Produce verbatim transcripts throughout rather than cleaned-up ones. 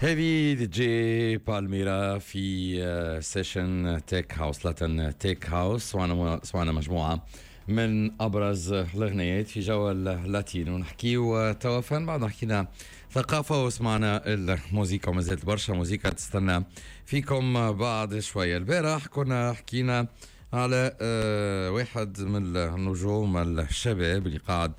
هذه دي جي بالميرا في session tech house، Latin tech house. سمعنا سمعنا مجموعة من ابرز الاغنيات في جو اللاتين، ونحكيو توا فن بعد حكينا ثقافة وسمعنا الموسيقى، وما زالت برشا موسيقى تستنى فيكم بعد شوية. البارح كنا حكينا على واحد من النجوم الشباب اللي قاعد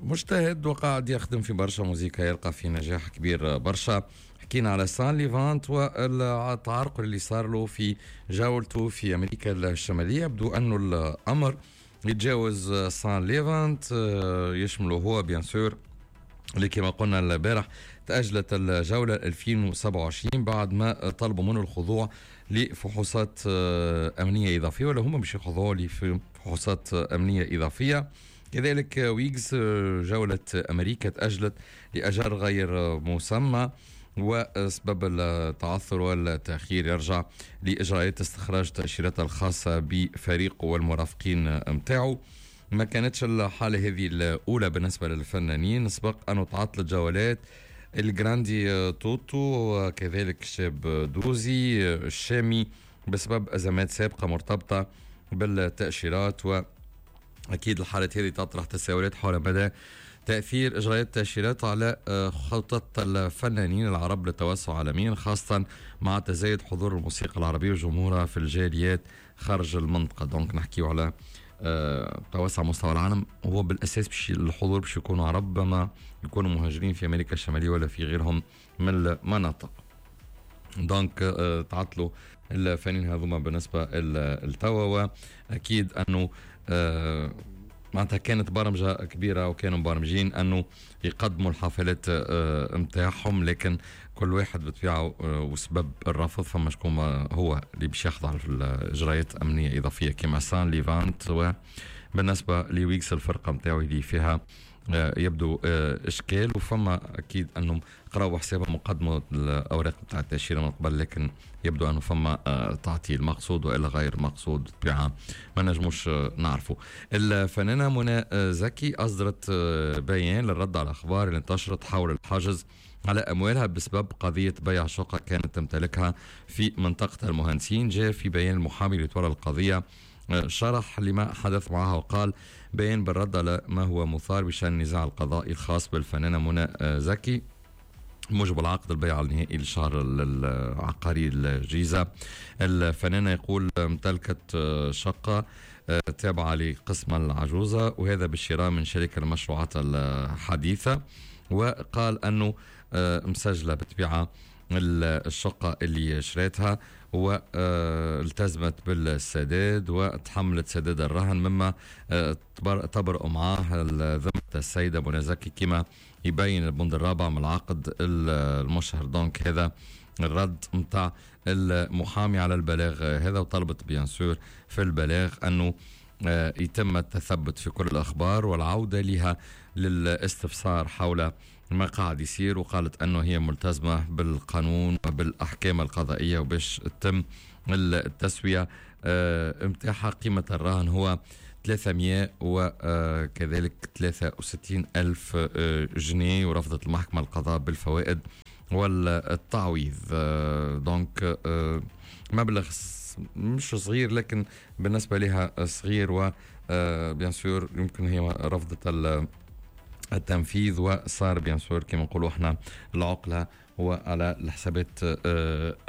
مجتهد وقاعد يخدم في برشا موزيكا، يلقى في نجاح كبير برشا. حكينا على سان ليفانت والتعرقل اللي صار له في جولته في أمريكا الشمالية. يبدو أنه الأمر يتجاوز سان ليفانت، يشمله هو bien sûr، اللي كما قلنا البارح تأجلت الجولة ألفين وسبعة وعشرين بعد ما طلبوا منه الخضوع لفحوصات أمنية إضافية، ولا هم مش يخضعوا لفحوصات أمنية إضافية. كذلك ويجز جولة أمريكا تأجلت لأجل غير مسمى، وسبب التعثر والتأخير يرجع لإجراءات استخراج التأشيرات الخاصة بفريقه والمرافقين متاعه. ما كانتش الحالة هذه الأولى بالنسبة للفنانين، سبق أنه تعطلت جولات الجراندي توتو وكذلك الشاب دوزي الشامي بسبب أزمات سابقة مرتبطة بالتأشيرات. و أكيد الحالات هذه تطرح تساؤلات حول مدى تأثير إجراءات التأشيرات على خطط الفنانين العرب للتوسع عالميا، خاصة مع تزايد حضور الموسيقى العربية وجمهورها في الجاليات خارج المنطقة. donc نحكيو على توسع مستوى العالم، هو بالأساس باش الحضور باش يكونوا عرب، ما يكونوا مهاجرين في أمريكا الشمالية ولا في غيرهم من المناطق. donc تعطلوا الفنانين هذوما بالنسبة للتوا، وأكيد أنه آه معناتها كانت برمجة كبيرة وكانوا مبرمجين أنه يقدموا الحفلات متاعهم، لكن كل واحد بطبيعة وسبب الرفض. فما شكون هو اللي باش يخضع في الإجراءات أمنية إضافية كما سان ليفانت، وبالنسبة لويكس الفرقة متاعو اللي فيها يبدو إشكال، وفما أكيد أنهم قراوا حسابهم وقدموا الأوراق بتاع التأشيرة من قبل، لكن يبدو أنه فما تعطيل مقصود وإلا غير مقصود، بالطبيعة ما نجموش نعرفه. الفنانة منى زكي أصدرت بيان للرد على الأخبار اللي انتشرت حول الحجز على أموالها بسبب قضية بيع شقة كانت تمتلكها في منطقة المهندسين. جاء في بيان المحامي اللي تولى القضية شرح لما حدث معها، وقال بيان بالرد على ما هو مثار بشأن النزاع القضائي الخاص بالفنانة منى زكي موجب العقد البيع النهائي للشهر العقاري الجيزة. الفنانة يقول امتلكت شقة تابعة لقسم العجوزة، وهذا بالشراء من شركة المشروعات الحديثة، وقال أنه مسجلة بطبيعة الشقة اللي شريتها والتزمت بالسداد وتحملت سداد الرهن، مما تبرأ معاه ذمة السيدة منى زكي كما يبين البند الرابع من العقد المشهر. donc هذا الرد متاع المحامي على البلاغ هذا، وطلبت bien sûr في البلاغ أنه يتم التثبت في كل الأخبار والعودة لها للاستفسار حول ما قاعد يصير، وقالت أنه هي ملتزمة بالقانون وبالأحكام القضائية وباش تتم التسوية متاعها. قيمة الرهن هو ثلاثمائة وكذلك ثلاثة وستين ألف جنيه، ورفضت المحكمة القضاء بالفوائد والتعويض. donc مبلغ مش صغير، لكن بالنسبة لها صغير، و bien sûr يمكن هي رفضت التنفيذ، وصار bien sûr كما نقولوا احنا العقلة هو على الحسابات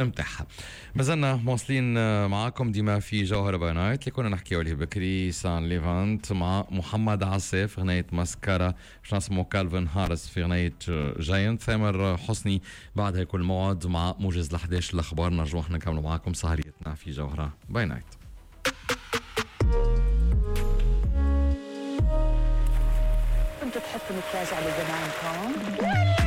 متاعها. مازلنا مواصلين معاكم ديما في جوهرة by Night اللي كنا نحكيو عليه بكري، سان ليفانت مع محمد عساف غنية ماسكارا، باش نسمو كالفن هارس في غنية Giant، ثامر حسني. بعدها يكون الموعد مع موجز الأحداث الأخبار، نرجو احنا نكملوا معاكم سهريتنا في جوهرة by Night. كنت تحط مكياج على زمانكم؟